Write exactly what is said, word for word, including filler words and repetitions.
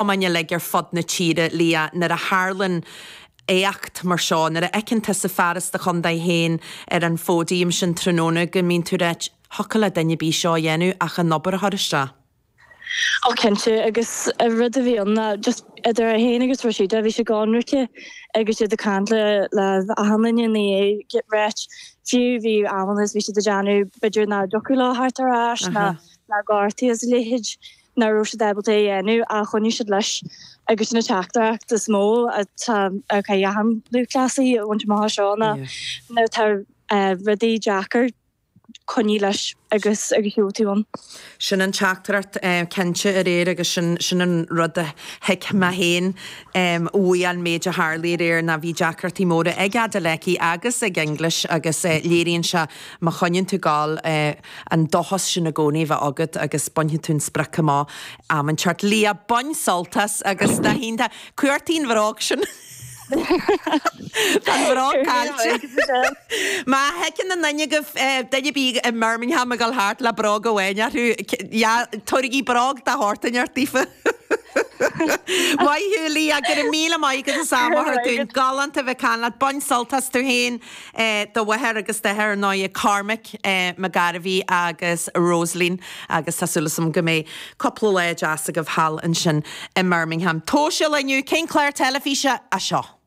Cumainn uilig ar fud na tíre, Leah, nuair a tharlann éacht mar seo, nuair a fheiceann tusa fear as do chontae féin ar an phóidiam sin tráthnóna, go mbíonn tú ag ráit, thiocfadh le duine ar bith seo a dhéanamh ach an obair a chur isteach. Ó cinnte, agus an rud a bhí ann ná just idir é féin agus Rashida, bhí siad ionraic agus iad ag caint le le achan duine ina dhiaidh, ráit, fiú bhí amanna is bhí siad ag déanamh b'fhéidir nach dtiocfadh leo theacht ar ais ná ná gortaithe is a leithéid. nach raibh siad ábalta é a dhéanamh ach choinnigh siad leis agus sin an teachtaireacht is mó atá ag achan lúthchleasaí a bhaint amach as seo ná nuair atá rudaí deacair coinnigh leis agus agus gheobhaidh tú ann. Sin an teachtaireacht cinnte aréir agus sin sin an rud a thuig mé féin uaidh an méid a tharlaigh aréir ná bhí deacrachtaí móra ag Adeleke agus ag English agus léiríonn sé má choinníonn tú ag gabháil an dóchas sin i gcónaí a bheith agat agus bainfidh tú an sprioc amach am inteacht. Leah, bain sult as agus na hiontach. Cuartaigh an bhróg sin. Tá an bhróg caillte. Má fheiceann aon duine agaibh duine ar bith i mBirmingham ag dul thart le bróg amháin orthu, tabhairigí bróg de shórt inteacht daofa. Maith thú, Leah, go raibh míle maith agat as am a thabhairt dúinn. Galánta a bheith ag caint leat. Bain sult as tú féin, do mháthair agus d'athair ar ndóigh, Cormac McGarvey agus Rosaleen agus tá súil agam go mbeidh cúpla lá deas agaibh thall ansin i mBirmingham. Tóiseal inniu, cén clár teilifíse é seo?